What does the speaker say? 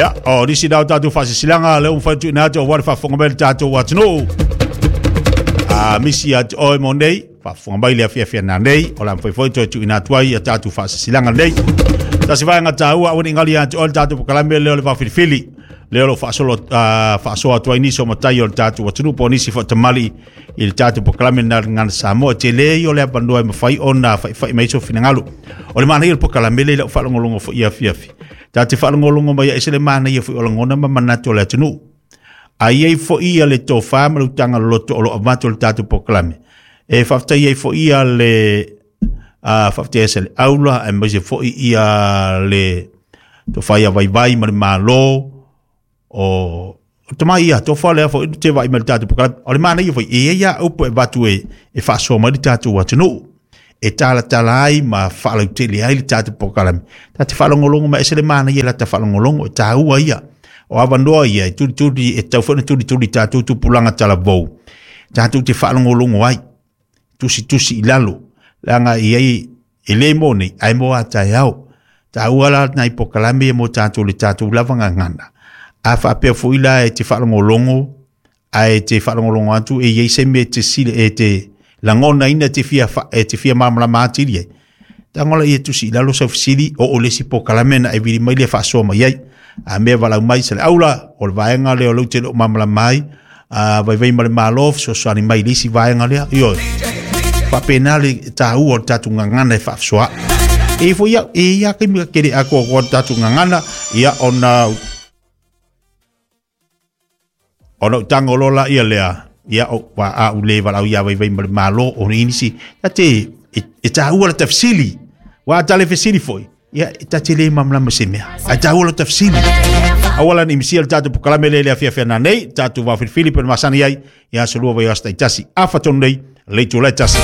Ia, o nisi na o tatou faasilasilaga lea ua mafai ona tuuina atu aua le faafofoga mai a le tatou atunuu. A misi ia te oe mo nei, faafofoga mai le afiafi nanei, o le a mafai foi ona toe tuuina atu ai ia tatou faasilasilaga nei. Tasi vaega taua, aua ne i gali ia te oe le tatou polokalame lea o le vaofilifili, lea o lo o faasolo, faasoa atu ai nisi o matai o le tatou atunuu po o nisi foi o tamalii i le tatou polokalame na Gagana Samoa. E tele ia o le avanoa e mafai ona faifai mai ai sou finagalo. O le manaia o le polokalame lea i lau faalogologo foi i afiafi, ta te faalogologo mai ai, ese le manaia foi o lagona ma manatu o le atunuu. A i ai foi ia le tofa ma le utaga loloto o lo o avatu e le tatou polokalame, e faafetai ai foi ia le faafetai ai le aula aemaise foi ia le tofa ia Vaivai ma le Malo o tama ia tofa lea foi te vaai mai le tatou polokalame. O le manaia foi, e i ai lava upu e avatu e faasoa mai le tatou atunuu, e talatala ai ma faalautele ai le tatou polokalame. Ta te faalogologo mai, ese le manaia la ta faalogologo, e taua ia. O avanoa ia e tulituli, e tatau foi ona tulituli i tatou tupulaga talavou, tatou te faalogologo ai, tusitusi i lalo, leaga e i ai, e le mo nei, ae mo a taeao. Taua la nai polokalame ia mo tatou le tatou lava gagana. A faapea foi la e te faalogologo, ae te faalogologo atu e i ai se mea e te sile, e te lagonaina e te fia, e te fia malamalama atili ai, tago la ia tusi i lalo sau fesili, oo i le isi polokalame ona e vili mai lea faasoa mai ai. A mea valaau mai se le aula, o le vaega lea o lea ou te le o malamalama ai, a Vaivai ma le Malo, fesoasoani mai i le isi vaega lea. Ioe. Faapena le taua o le tatou gagana e faafesoaai. E foi au, e i ai lava taimi ka kele atoatoa le tatou gagana, ia ona ona ou tago loa laia lea, ia o wa a u le valaau ia Vaivai ma le Malo o nisi, ta te e taua le tafsili. Wa ta le fesili foi, ia ta te le malamalama se mea. Ai taua le tafsili. Aua la ne i misia le tatou polokalame lea i le afiafi ana nei, tatou vaofilifili pe na masani ai, ia aso lua vaiaso taitasi. Afa tonu nei, le itula e tasi.